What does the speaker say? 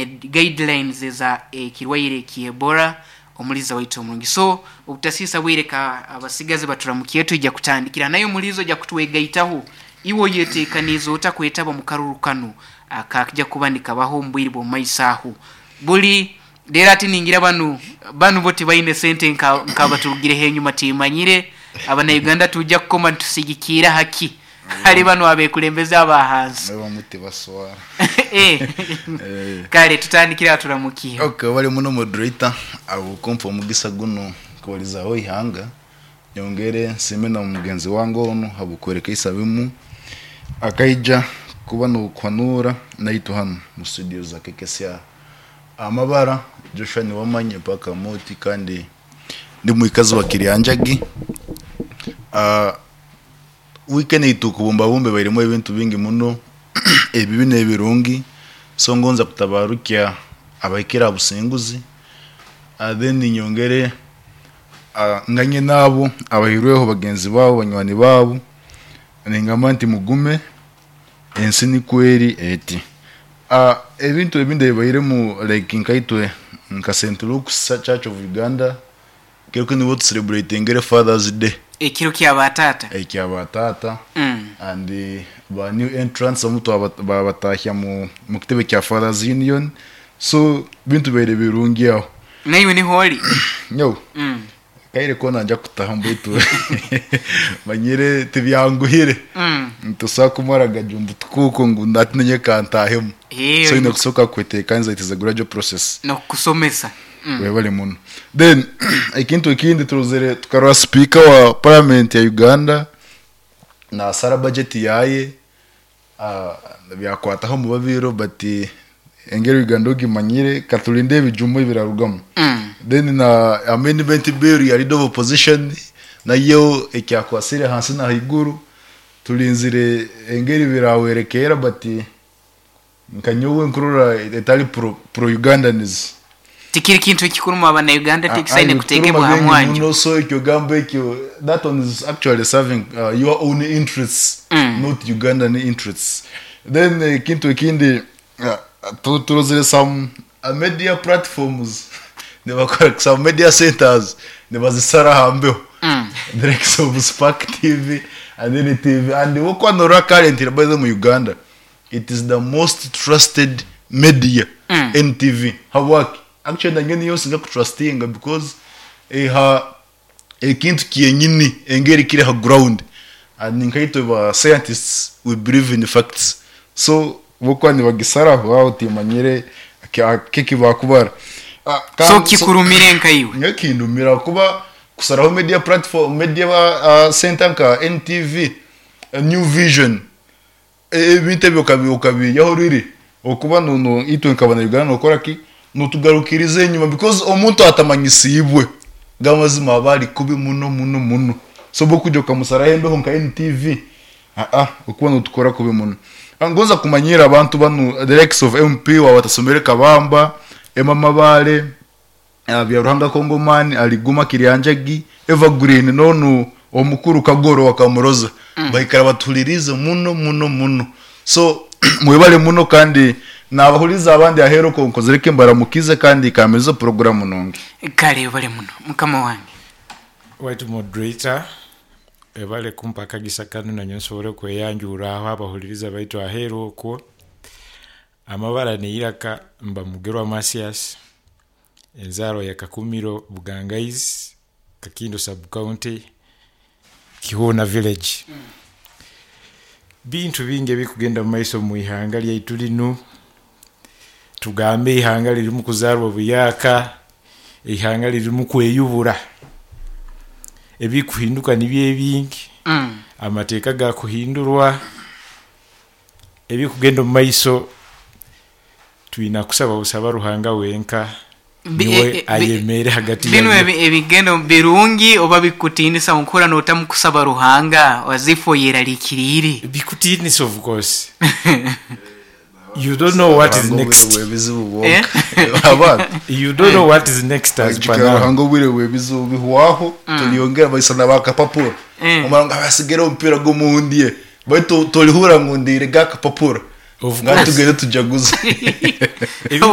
Guidelines eza ekirwaire ky'Ebola, omuliza waitu omurungi. So obutasiisa bwire, ka abasigazi baturamukiye, twijja kutandikira naye omulizo ojja kutwegaitaho. Iwe oyetekaniize ota kwetaba mu karuru kanu akakija kuba nikabaho omu bwire bw'omu maiso aho buli leero? Ati ningira banu bo tibaine sente nk'abaturugireho enyuma. Timanyire Abanauganda tujja kukoma nitusigikiira haki hali banu abekulembeze aba hansi. Bamu tibaswara. Kale tutandikire aho, turamukiye. Okay, bali muno moderator abukumpa omugisa guno kubalizaho ihanga. Nyongere nsiime na mugenzi wange onu habukwereka isabimu akaija kuba nokuhanura naitu hano mu studio za KKCR. Amabara Joshua Niwamanye paka moti, kandi ndi mwikazi wa Kiryanjagi. Weekend eitu kubumbabumba bairemu ebintu bingi muno, ebibi n'ebirungi. So ngonza kutabarukya abahikire abusinguzi, then nyongere nganye naabo abahirweho bagenzi baabo, banywani baabo, ningamba nti mugume, ensi nikweri eti. Ebintu ebindi ebibairemu, like nkaitwe nka St Luke's Church of Uganda, kero nibo tucelebratingire Fathers Day. Ekiro ky'abatata. Ekyabataata. And ba new entrants omu babatahya mu kitebe kya Fathers Union, so bintu bibaire birungi aho. Naiwe niho oli? Nyo kaire kona nja kutaha, mbaitu manyire tibyanguhire. Ntusobola kumara gajumbu tukuuko ngu natinenye kantahemu. So ine kusoka kwetekanisa, it is a gradual process. Nokusomesa. Webale muno. Then ekintu ekindi turozere, tukarora speaker wa parliament ya Uganda nasara budget yaye, byakwataho mu babiro, but engeri Uganda ogimanyire, katulinde ebijumo ebirarugamu. Then na amendment bill ya leader of opposition nayo ekyakwasire hansi na haiguru, tulinzire engeri birawerekera, but nkanyowe nkurora etali pro Ugandans. Tikiri kintu ekikuruma Abanauganda, tikisaine kutekebwa ha mwanjo. Muno. So ekyo gamba ekyo, that one is actually serving your own interests, not Ugandan interests. Then ekintu ekindi, turozere some media platforms nibakora, some media centers nibazisara hambeho, the likes of Spark TV and NTV. And wokwanora currently, by the way, mu Uganda it is the most trusted media, NTV. Habwaki? Actually nange niyo nsinga kutrustinga, because eha ekintu kyenyini engeri kiri ha ground, and nkaitwe ba scientists, we believe in facts. So bokuba nibagisaraho aho, timanyire kiki bakubara. So kikurumire nkaiwe? Nkindumira kuba kusaraho media platform, media center nka NTV, New Vision, ebintu ebyo okabiyaho riri okuba nono itwe nkabana Uganda nokora ki nutugarukiriza enyuma, because omuntu atamanyisibwe gamazima aba ari kubi muno muno muno. So bokuja okamusaraho embeho nka NTV, okuba nutukora kubi muno. Ngonza kumanyira abantu banu, the likes of MP wa watasomere Kabamba, Emma Mabale, Byaruhanga Kongomani aliguma Kiryanjagi, Evergreen nonu omukuru Kagoro wakamuroza, baikara batuhulirize muno muno muno. So mwebale muno, kandi nabahuliza abandi ahero ko nkozereke mbaramukize, kandi kameze programu nongi. Kale bale muno mukama wange. Waitu moderator, ebale kumpa akagisa kanu nanyo nsobole okweyanjura aho abahuliriza baitu aheeru okwo. Amabara neiraka mba Mugerwa Masias, enzarwa ya Kakumiro Bugangaizi, Kakindo sub county, Kihuna village. Bintu bingi ebikugenda mu maiso mu ihanga lyaitu linu. Tugambe ihanga lirimu kuzarwa buyaka, ihanga lirimu kweyubura, ebikuhinduka nibyo ebingi. Amateeka gakuhindurwa, ebikugenda omu maiso twina kusaba busaba Ruhanga wenka niwe ayemere hagati Bino yabyo. Ebigendo birungi oba bikutinisa onkura notamu kusaba Ruhanga wazifo yeraliikiriire? Bikutinisa, of course you don't know what is next. Bwebizibu bwonka abantu. You don't know what is next as per Jukira now. Ruhanga obwire bwebizibu bihwaho, tulyongera baisana bakapapura, omara nga basigere omupiira gw'omundye, baitu tolihura ngu ndiire gakapapura. Of Nga course. tugende tujaguze. Obura.